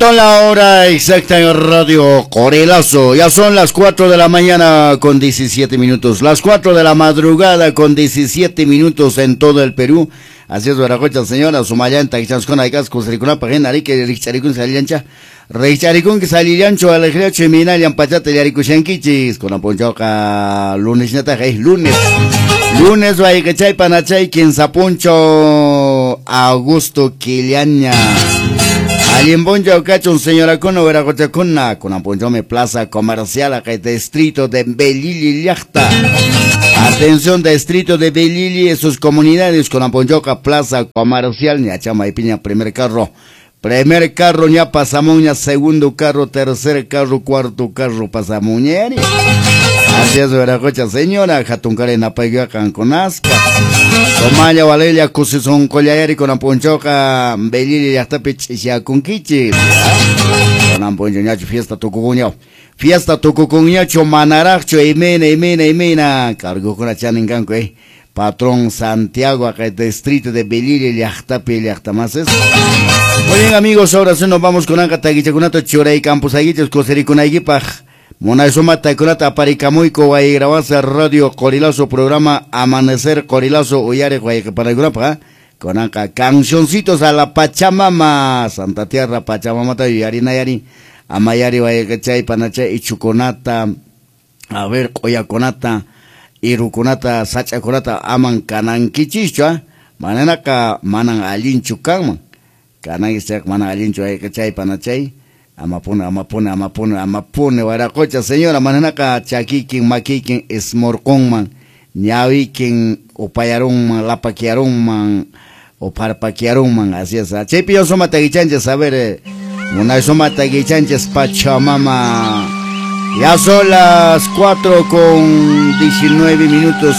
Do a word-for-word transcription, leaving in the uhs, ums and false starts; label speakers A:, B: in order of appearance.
A: La hora exacta en Radio Qorilazo. Ya son las cuatro de la mañana con diecisiete minutos. Las cuatro de la madrugada con diecisiete minutos en todo el Perú. Así es, Veracocha, señora, Sumayanta, Ixanscona, Icasco, Sricunapa, Genarique, Richaricun, Saliancha, Richaricun, que Salillancho, Alegriacho, Minalian, Pachata, Yarikushankichis, con Aponchoca, lunes, Nataja, es lunes. Lunes, Guayquechay, Panachay, Quinzapuncho, Augusto, Quiliaña. Alimboncho cachun señora cono veracochacuna con aponchome plaza comercial acá distrito de Belili llaqta. Atención, distrito de Belili y sus comunidades con aponchoca plaza comercial ñachama y piña primer carro. Primer carro ña pasamuña, segundo carro, tercer carro, cuarto carro pasamuñeri. Así es, veracocha señora, jatuncare napayua canconasca. Tomaya valelia kusison collayari con aponchoca Belili llaqtapi ch'isyakunkichis. Con aponcho ñachu fiesta tukukuñaw. Fiesta tukukuñachu manaraqchu imena imena imena. Cargukuna chanin kanku eh. Patrón Santiago acá el distrito de Belili llaqtapi llaqtamases. Muy bien amigos, ahora sí nos vamos con anka takichakunato churay campus aguichos kusirikunaykipaq. Munay sumata aparikamuyku wayrawasa Radio Qorilazo programa Amanecer Qorilazo uyare wayqipanakunapaq konanqa cancioncitos a la Pachamama Santa Tierra Pachamamata yuyarinayari amayari wayqichay panachay ichukunata a ver q'uyakunata irukunata sach'akunata aman kanankichischu mananaqa manan allinchu kanman kanankis manan allinchu wayqichay panachay amapune, amapune, amapune, amapune, waracocha, señora, mananaka, chakikin, makikin, esmorconman, ñawikin, upayarunman, lapaquiarunman, oparpaquiarunman, así es. Chaypi yo suma taguichanches, a ver, una suma taguichanches, Pachamama. Ya son las cuatro con diecinueve minutos.